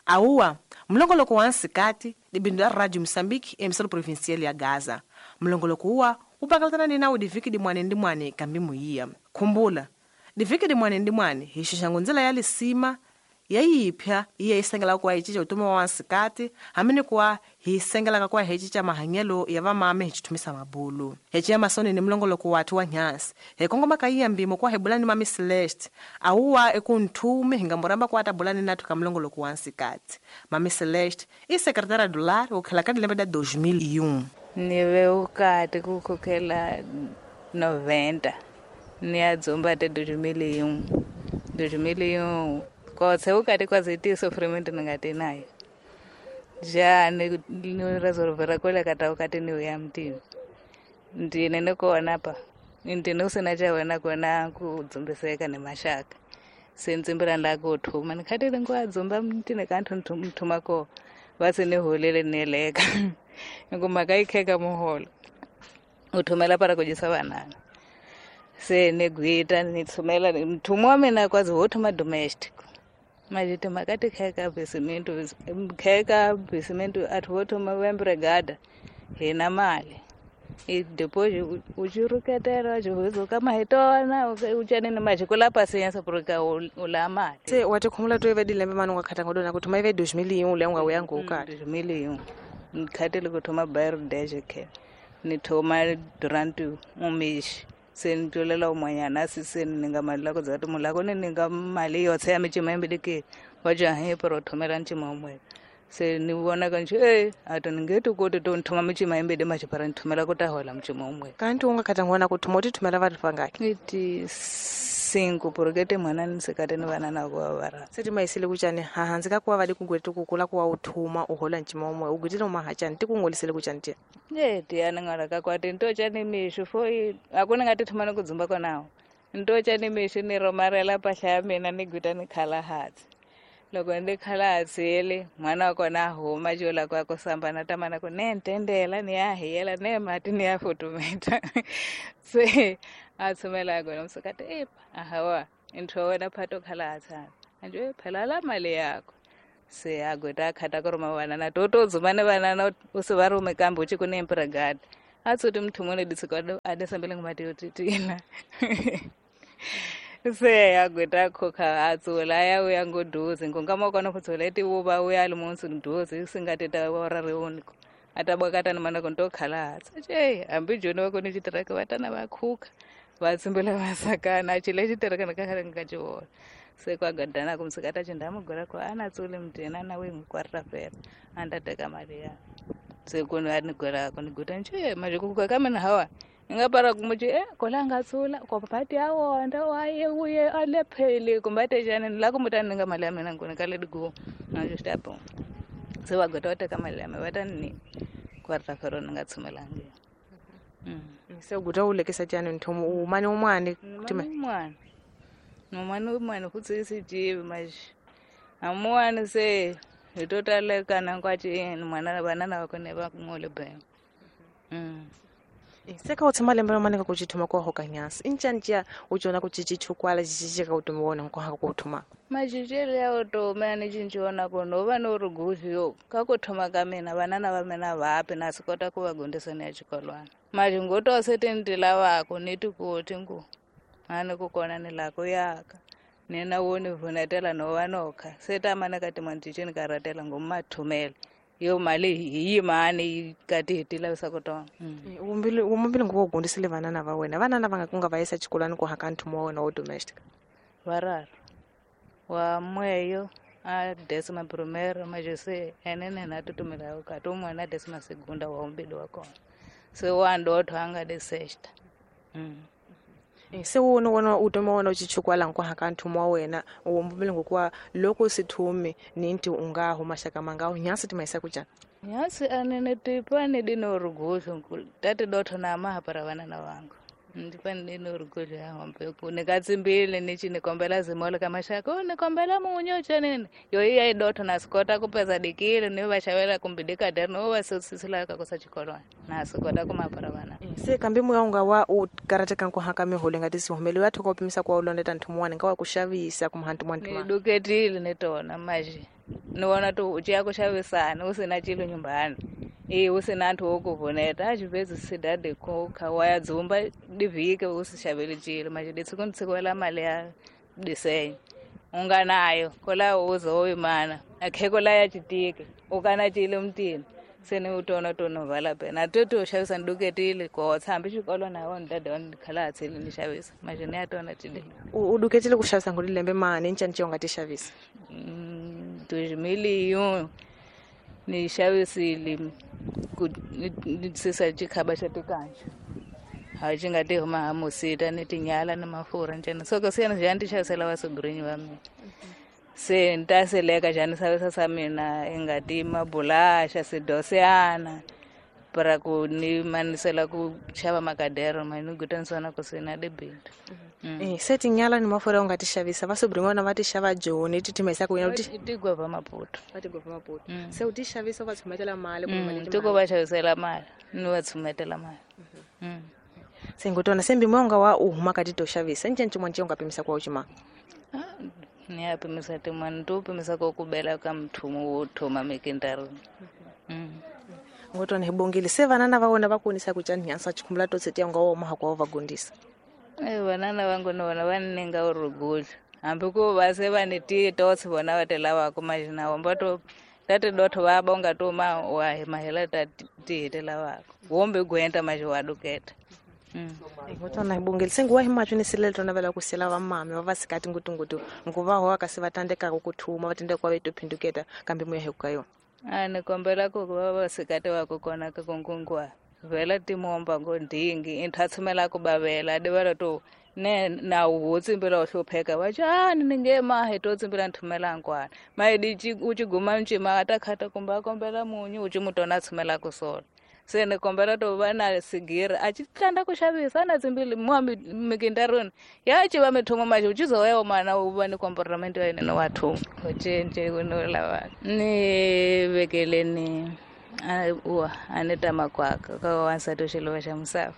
Awuwa mulongoloko wa nsikati dibindu la Radio Moçambique emissora provincial ya Gaza. Mulongoloko uwa upakalatana ni nawu diviki dimwane ndimwane kambi muyiya. Khumbula diviki dimwane ndimwane hi xixango ndzela ya lisima yayipya iye isengelaka kuwa hi cinca vutomi wa wansikati hambi ni kuwa hi sengelaka kuwa hi cinca mahanyelo ya vamame hi cithumisa mabulu. Hi ciya masoni ni mulongoloko wathu wa nyasi hi kongoma ka iya mbimo kuwa hi bula ni mami Celeste awuwa eku nthumi hi nga muramba kuwa ta bula ni nathu ka mulongoloko wa nsikati. Mami Celeste i secretary do lar wo khela ka dilembe da 2001. Ni ve ukati ku khokhela 90 ni ya dzumba te 2001 2001 kotse ukati kwazi sofrimento ni nayo ja ni resolvera kwele kata ukati ni uya mtini ndine nikona pa ndine usina cha wena kona kudzumbiseka ni mashaka sendzimbira nda kuthuma nikhatile ngwa dzumba mtini kanthu mthuma ko vasi ni holele neleka ngoma kaikheka muholo uthumela para kujisa vanana se ni gwita nithumela mthumo wa mina kwazi wo thuma domestic majiti makati kheka bisimento kheka bisimento athu vo thuma vembregada hina mali i depois uchiruketera uchihuzuka mahitona uchanini majikula pasiensa purika ula mali. Se watikhumula to ive dilembe mani ungakhatanga dona kuthuma ive 2001 ule unga uyangu ukati 2001 nikhatile kuthuma bairro deje khe nithoma durante umishi se ni twelela umwanyana siseni ni nga mali lako dzati mulako ni ni nga mali yotse ya micima yimbili wa jahe pero thomela ncima umwe se ni vona ka nje ato ni nge tikoti to nthuma micima yimbili machipara nithumela ku ta hola mcima umwe. Kanti unga khatanga wona ku thuma u ti thumela vathu vangaki iti 5 porque mwana ni sekate ni vana na ku va se ti mayisile kuchani hahansi ka kuwa vadi kugwete kukula kuwa u thuma u hola ncima umwe u gwetile umahachani ti kungolisele kuchani tiya e tiyani ngala ka kwati nto chani mixu fo a ku ni nga ti thuma ni ku dzumba konawo nto chani mixu ni romarela mpahla ya mina ni gwita ni khala hansi loko ni khala hansi yele n'wana wa kona a huma jola ku ya ku samba na tamana ku ne ntendela ni ya hiyela ne mati ni ya futumeta se a tshumela kona musukati epa ahawa ntho wa wena phato khala hansi anje phela la mali yakho se a gweta a khata ku ruma vanana to to dzuma ni vanana u se va rume kambe u ci ku ni empregada a tsuti mthumo ni ditsiko a desambele ngumati yo titina se a gweta a khokha a tsula ya uya ngoduze ngongama kona ku tsula ti vuva uya li munsu nduze singati ta ora riuniko a ta bwakata ni mana ku nto khala hansi che hambi joni wa kona xitiraka va tana va khukha va tsimbela va sakana a chile xitiraka ni ka khale nga ci vona se kwa gadana ku msikata chinda mugora ko ana tsule mtena na we ngikwarira fela anda teka mali ya se ku ni gora ku ni guta nje manje ku ka mina hawa nga para kumuchi kola nga tsula ko pati ya wonda waye uye alephele kumbate jana ni la kumutani nga mali ya mina ngone ka let go na just apo se wa gota teka mali ya mina ni kwarira fela ni nga tsumelangi. Se guta u lekisa tjani nthomo u mani umwane umwane nomani umwane futsi sijivi manje amuwani se hi to talekana nkwaci mwana vanana va kone va ngole bema. Se ka u tshama lembe ramane ka ku cithuma kwa hoka nyasi i ncani ciya u cona ku cici chukwala cici ka utomi wa wena nkohaka ku thuma macicelo ya utomi a ni cinciwona ku no va no ri guzi yo ka ku thoma ka mina vanana va mina vapi na swi kota ku va gondisa ni ya xikolwana maji ngo se ti ni ti lavaka ni ti koti ngu a ni ku kona ni la ku yaka ni na wo ni vunetela no va no kha se ta mana ka timanticini ka ratela ngo mathumela yo mali hi yimani kati hi ti lavisa ku tona. Wumbili nguva u gondisile vanana va wena vanana va nga ku nga va yisa xikolwani ku haka nthumo wa wena wo domestic vararo wa mweyo a décima primeira majese enene na tutumela ukati umwe na décima segunda wa umbili wa kona se wa ndotho anga de sexta. Se wona wona utomi wa wena u cichukwala nku haka nthumo wa wena wumbili ngokuwa loko sithume ni nti u nga huma xaka manga nyasi ti mayisa ku njhani nyasi anene tipani dino ruguzu tati dotho na mahapara vanana vangu ndipani dino ruguzu ya hombe ku nikatsimbile nichi nikombela zimolo ka maxaka nikombela munyu chanini yo iya idotho na sikota kupeza dikile ni va xavela kumbe dikaderi no va sisila ka kosa xikolwana na sikota ku mahapara vanana. Se kambe moya u nga wa u karateka nku haka miholo nga tisi humeli wa thoka u pimisa ku wa u londeta nthumo wa ni nga wa ku xavisa kumbe hanti mwa ni duketile ni tona maji Ni vona to u ciya ku xavisana u sina cilo nyumbani e u sina nthu wo ku vuneta a xivezi sidade ko kha wa ya dzumba divhike u si xaveli cilo manje ditsiko ntsikela mali ya disenyo u nga nayo kola u zo imana akheko la ya chitike u kana cilo mtini se ni u tona tono vala pena toto xavisa nduketile ko tshambi xikolo na wona dada wa khala tsile ni xavisa manje ni ya tona tide u duketile ku xavisa ngoli lembe mani ncani ci u nga ti xavisa 2001 ni xavisile ku ni sisa xikhaba xa tikanja ha xi nga ti huma ha musita ni tinyala ni mafurha ncena so ko se ni ti xavisela va sugrinyi va mina se ni ta seleka xani xavisa sa mina i nga ti mabulaxa sidosiyana para ku ni manisela ku xava makadero ma ni gutanisana ku se na debindu. Se tinyala ni mafurha u nga ti xavisa va sobrin'wana va ti xava joni ti timesa ku yena ti tigova Maputo va tigova Maputo se u ti xavisa u va tshumetela mali ku mali ti ko va xavisela mali ni va tshumetela mali. Se ngotona se mbimo nga wa u huma ka ti to xavisa nceni xin'wana xi u nga pimisa ku wa u xima ni ya pimisa tin'wana to pimisa ko ku bela ka mthumo wo thoma mikindaruni. Ngotona hi bongile se vanana va wona va konisa ku cani nyansa chikhumbula to tsetiya nga wo maha kwa va gondisa. Vanana vangu ni vona va ni ninga urugudla hambi ku va se va ni tiye totsi vona va ti lavaka majina womba to tati dotho va bonga to ma wa hi mahela ta tihi ti lavaka wombe gwenta maji wa duketa. Ngotona hi bongile se nguwa hi matsho ni silele tona vela ku sela va mame va va sikati ngutungutu nguva ho ka se va tandekaka ku thuma va tandeka va to phinduketa kambe moya hi ku ka yona. A ni kombela ku va va sikati wa ku kona ka kunkunguwa vela timomba ngo ndingi intha tshumela ku bavela divela to ne na u tsimbela u hlupheka va chani ni nge mahe to tsimbela nthumela nkwana mai di u ci guma ncima ta khata kumba kombela munyu u ci mutona tshumela ku sona se ni kombela to va na sigiri a ci tlanda ku xavisa na tsimbili mwa mikindaruni ya ci va mithumo maji u ci zoya mana u va ni comportamento ya yena wa thumo u cince ku no lava ni vekeleni a ni ta makwaka ka wansati u xilova xa musafa.